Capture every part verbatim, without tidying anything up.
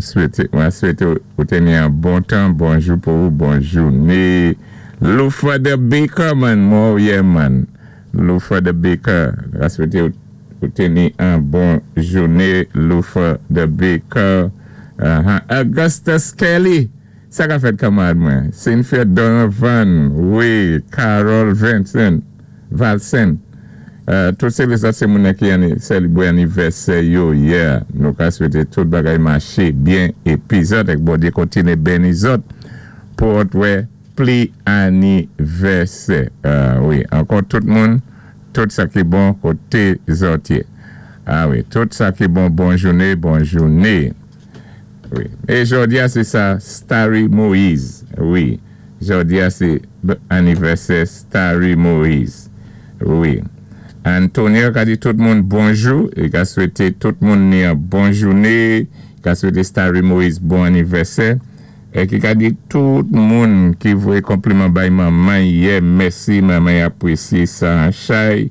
Swété, mwen swété ou té ni an bon tan, bonjou pou ou, bon jouné. Lufa the Baker, man, oh yeah, man. Lufa the Baker, ka swété ou té ni an bon jouné, Lufa the Baker. Uh-huh. Augustus Kelly, sa ka fèt kanmarad mwen. Cynthia Donovan, wi, Carol Vincent, Valsen. Uh, tout sé lézòt sé moun ki anni, sélébwé anivèsè yo, yeah. Nou ka swété tout bagay maché byen épi zòt èk Bondyé kontiné béni zòt pou òt wè pli anivèsè. Uh, wi, ankò tout moun, tout sa ki bon koté zòt yé. Ah wi, tout sa ki bon, bon jouné, bon jouné. Wi. É jòdi-a, sé sa, Starry Moïse. Wi. Jòdi-a, sé anivèsè Starry Moïse. Wi. Antonio ka di tout moun bonjou, é ka swété tout moun ni an bon jouné, ka swété Starry Moïse bon anivèsè, é ki ka di tout moun ki voyé konpliman bay manman yè, mèsi, manman apwésyé sa an chay,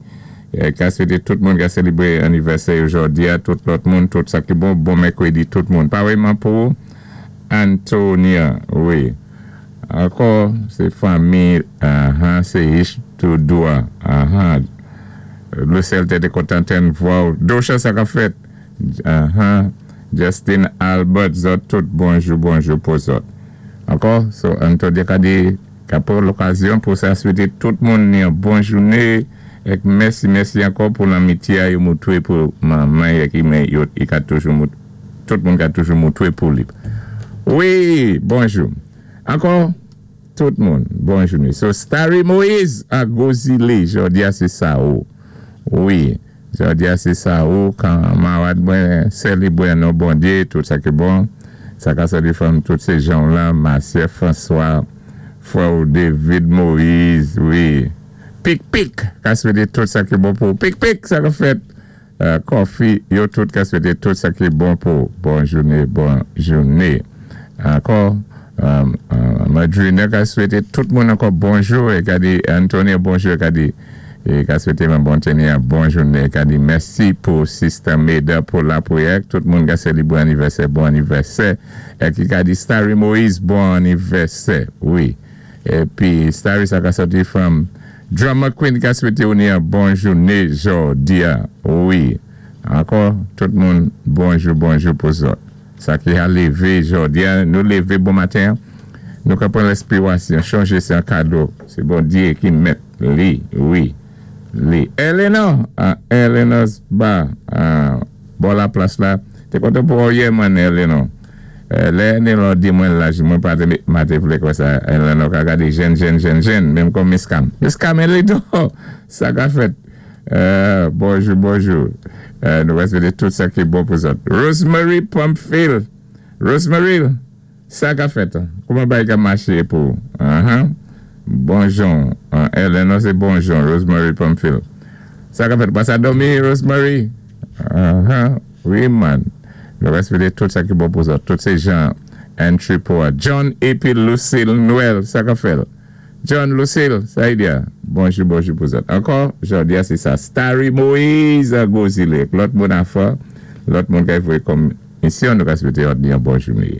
é ka swété tout moun ka sélébwé anivèsè jòdi-a, tout lòt moun, tout sa ki bon, bon mèkwédi tout moun. Parèyman pou Antonia, wi. Ankò, sé fanmi, uh-huh, sé Ich Toudoua, uh-huh. Lucille té kontan tann vwa. Dosha sa ka fèt. Uh-huh. Justin Albert, zòt tout bonjou, bonjou pou zòt. Ankò, so Antonio ka di, ka pran lokazyon pou sa swété tout moun ni an bon jouné èk mèsi, mèsi ankò pou lanmityé a yo moutwé pou manman é ki men yo, i ka toujou mout, tout moun ka toujou moutwé pou li. Wi, bonjou. Ankò, tout moun, bon jouné. So, Starry Moïse a Gozile, jòdi-a sé sa ou. Wi, jòdi-a sé sa ou, kanmarad mwen sélébwé an Bondyé, tout sa ki bon, sa ka sòti from tout sé jan la, Marcia François, frè David Moïse, wi. Pik pik, ka swété tout sa ki bon pou. Pik pik, sa ka fèt. Euh, Coffee, yo tout ka swété tout sa ki bon pou. Bon jouné, bon jouné. Ankò, euh, euh, Madrina ka swété tout moun ankò bonjou, é ka di Antonio bonjou, ka di é ka swété mwen bon teni bon jouné, ka di mèsi pou Sister Meda pou lapwiyè, tout moun ka sélébwé anivèsè, bon anivèsè, é ki ka di Starry Moïse, bon anivèsè, wi. Épi Starry sa ka sòti from Drummer Queen ka swété ou ni an bon jouné jòdi-a, wi. Ankò, tout moun, bonjou, bonjou pou zòt. Sa ki a lévé jòdi-a, nou lévé bon maten, nou ka pran lespirasyon, chonjé sé an kado, sé Bondyé ki mèt li, wi, li. Eleanor, ah, Eleanor's Bar, ah, bò la plas la, té kontan pou wè man Eleanor. Euh, lè Eleanor di mwen laj, mwen pa té, ma té vlé kwè sa, Eleanor ka gadé jèn, jèn, jèn, jèn, menm kòm Miss Cam. Miss Cam Eleanor, sa ka fèt. Euh, bonjou, bonjou. Euh, nou va swété tout sa ki bon pou zòt. Rosemary Pumpfield. Rosemary, sa ka fèt. Kouman bagay ka maché pou? Uh-huh. Bonjou. Uh, Eleanor, sé bonjou. Rosemary Pumpfield. Sa ka fèt. Pa sa dòmi, Rosemary? Uh-huh. Wi, man. Nou va swété tout sa ki bon pou zòt. Tout sé jan entry pou John épi Lucille Noël. Sa ka fèt. John Lucille, sa y di. Bonjou, bonjou pou zòt. Ankò, jòdi-a, sé sa. Starry Moïse a Gozile. Lòt moun afè, lòt moun ki voyé kòm misyon, nou ka swété ni an bon jouné.